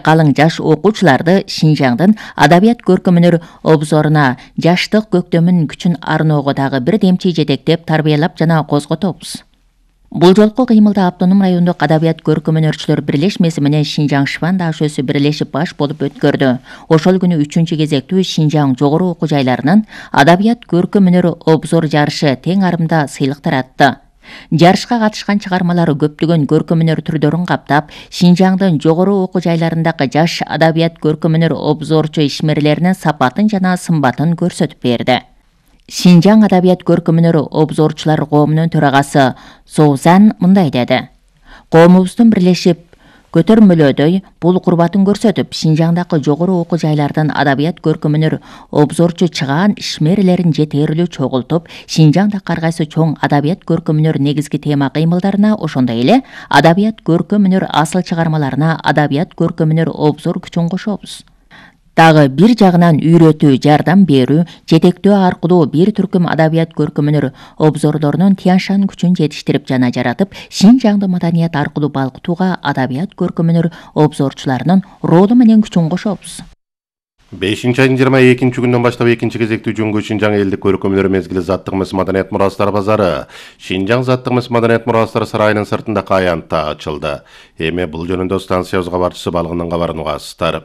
калың жаш окуучуларды Шинжаңдын адабият көркөмүнөр обзоруна жаштык көктөмүн күчүн арноого дагы бир демчи жетектеп тарбиялап жана козготобуз. Бул жолку кыймылда автоном райондук адабият көркөмөнөрчүлөр бирлешмеси менен Шинжаң Шван ДАШөсү бирлешип баш болуп өткөрдү. Ошол күнү 3-кезектүү Шинжаң жогору окуу жайларынын адабият көркөмөнөр обзор жарышы тең арымда сыйлык таратты. Жарышка катышкан чыгармалар көптөгөн көркөмөнөр түрдөрүн каптап, Шинжаңдын жогору окуу жайларындагы жаш адабият көркөмөнөр обзорчу ишмерлеринин сапатын жана сымбатын көрсөтүп берди. Шинжаң адабият көркөмөнөр обзорчулар коомунун төрагасы Соузан мындай деди. Коомубуздун бирлешип көтөрмөлөөдөй бул курбатын көрсөтүп, Шинжаңдагы жогору окуу жайлардын адабият көркөмөнөр обзорчу чыгаан ишмерлерин жетерлүү чогултуп, Шинжаңда ар кайсы чоң адабият көркөмөнөр негизги тема кыймылдарына, ошондой эле адабият көркөмөнөр асыл чыгармаларына адабият көркөмөнөр обзор күчүн кошобуз. Дагы бир жагынан үйрөтүү, жардам берүү, жетектөө аркылуу бир түркүм адабият көркөмөнөр обзорлорунун Тяншан күчүн жетиштирип жана жаратып, Шинжаңды маданият аркылуу балкытууга адабият көркөмөнөр обзорчуларынын ролу менен күчүн кошобуз. 5-айдын 22-күнүнөн баштап 2-кезектүү Жөнгө Шинжаң элдик көркөмөнөр мезгили Заттык-мыс маданият мурастары базары Шинжаң Заттык-мыс маданият мурастары сарайынын сыртында Каянтта ачылды. Эми бул жөнүндө станциябыз кабарчысы Балгындын кабарын угасыздар.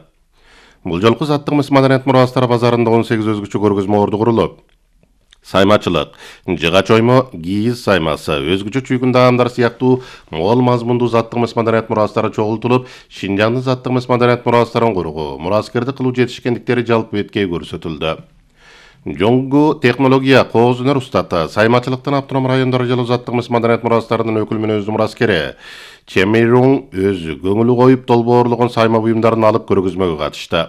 Бул жолку Заттык-мыс маданият мурастары базарында 18 өзгөчө көргөзмө орду курулуп, саймачылык, жыгач оймо, кийиз саймасы, өзгөчө чүйгүн даамдар сыяктуу мол мазмундуу Заттык-мыс маданият мурастары чогултулуп, Шинжаңдын Заттык-мыс маданият мурастарын куруу, мураскерди кылуу жетишкендиктери жалпы беткей көрсөтүлдү. Жоңгу технология, кооз өнөр устаты, саймачылыктын автоном райондору жолу Заттык-мыс маданият мурастарынын өкүл менен өзү мураскери Чемирун өзү көңүлү коюп долбоорлогон сайма буюмдарын алып көргөзмөгө катышты.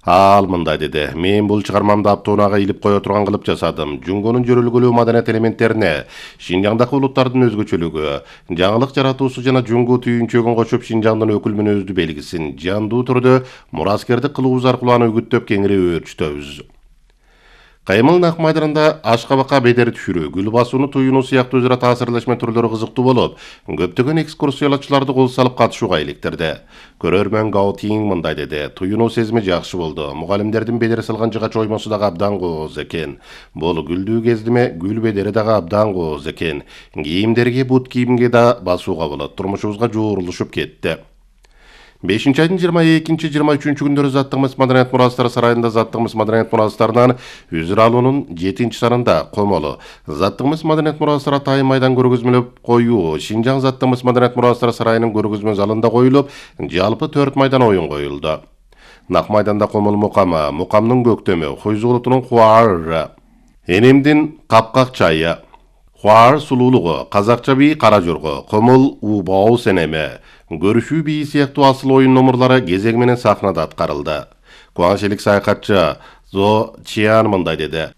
Ал мындай деди. Мен бул чыгармамды аптоонага илип кое турган кылып жасадым. Жөнгөнүн жөрөлгөлүү маданият элементтерине, Шинжаңдагы улуттардын өзгөчөлүгү, жаңылык жаратуусу жана жоңгу түйүнчөгүн кошуп Шинжаңдын өкүл менен өздү белгисин жандуу түрдө мураскердик кылуубуз аркылуу аны үгүттөп кеңири өөрчүтөбүз. Каймыл Нак майданында ашкабакка бедер түшүрүү, гүл басууну туюнуу сыяктуу өзара таасирлешме түрлөрү кызыктуу болуп, көптөгөн экскурсиялачыларды кол салып катышууга иликтирди. Көрөрмөн Гаутин мындай деди. Туюнуу сезими жакшы болду. Мугалимдердин бедер салган жыгач оймосу дагы абдан кооз экен. Бул гүлдүү кездиме гүл бедери дагы абдан кооз экен. Кийимдерге, бут кийимге да басууга болот. Турмушубузга жуурулушуп кетти. 5-айдын 22-23 күндөрү Заттык-мыс маданият мурастары сарайында Заттык-мыс маданият мурастарынан үзүр алуунун 7-санында комолу Заттык-мыс маданият мурастары атайын майдан көргөзмөлөп коюу Шинжаң Заттык-мыс маданият мурастары сарайынын көргөзмө залында коюлуп, жалпы 4 майдан оюн коюлду. Нак майданда комол мукамы, мукамдын көктөмү, Хуйзулутунун хуар, энемдин капкак чайы, хуар сулуулугу, казакча бий кара жорго, комол убау сенеме, көрүшүү бийи сыяктуу асыл оюн номурлары кезеги менен сахнада аткарылды. Кубанычылык саякатчы Зо Чиан мындай деди.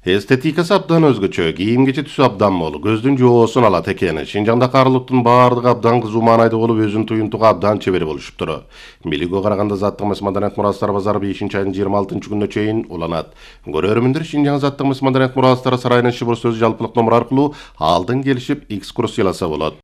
Эстетикасы абдан өзгөчө, кийим-кечи түсү абдан мол, көздүн жоосун алат экен. Шинжаңда карылыктын баардыгы абдан кызуу маанайда болуп, өзүн туюнтууга абдан чебер болушуптур. Билүүгө караганда Заттык-мыс маданият мурастары базары 5-айдын 26-күнүнө чейин уланат. Көрөрмөндөр Шинжаң Заттык-мыс маданият мурастары сарайынын шыбыр сөз жалпылык номуру аркылуу алдын келишип экскурсияласа болот.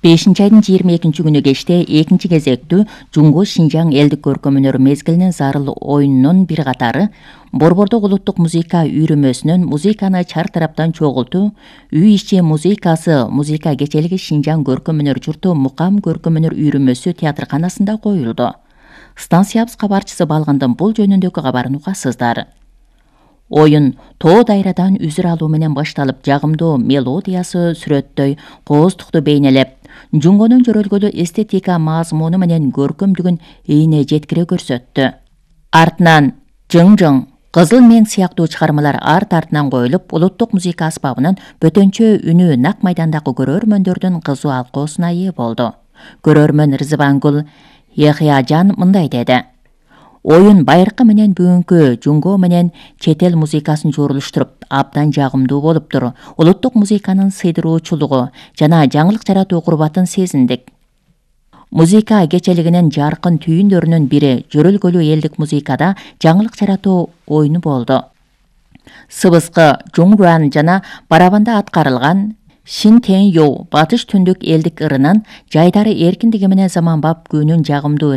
5-айдын 22-күнү кечте 2-кезектүү Жөнгө Шинжаң элдик көркөмөнөр мезгилинин зарыл оюнунун бир катары Борбордук улуттук музыка үйрүмөсүнүн музыканы чар тараптан чогултуу, үй ичи музыкасы, музыка кечелиги Шинжаң көркөмөнөр журту Мукам көркөмөнөр үйрүмөсү театрканасында коюлду. Станциябыз кабарчысы Балгындын бул жөнүндөгү кабарын угасыздар. Оюн тоо дайрадан үзүр алуу менен башталып, жагымдуу мелодиясы сүрөттөй кооздукту бейнелеп, Жөнгөнүн жөрөлгөлүү эстетика мазмуну менен көркөмдүгүн ийне жеткире көрсөттү. Артынан Жың-жың, Кызыл мең сыяктуу чыгармалар арт-артынан коюлуп, улуттук музыка аспабынын бөтөнчө үнү Нак майдандагы көрөрмөндөрдүн кызуу алкоосуна ээ болду. Көрөрмөн Рызыбангүл Яхыяжан мындай деди. Оюн байыркы менен бүгүнкү Жөнгө менен чет эл музыкасын жуурулуштуруп, абдан жагымдуу болуптур. Улуттук музыканын сыйдыруучулугу жана жаңылык жаратуу курбатын сезиндик. Музыка кечелигинин жаркын түйүндөрүнүн бири жөрөлгөлүү элдик музыкада жаңылык жаратуу оюну болду. Сыбыскы, жуңруан жана барабанда аткарылган Шин Тен Йоу батыш түндүк элдик ырынын жайдары эркиндиги менен заманбап күүнүн жагымдуу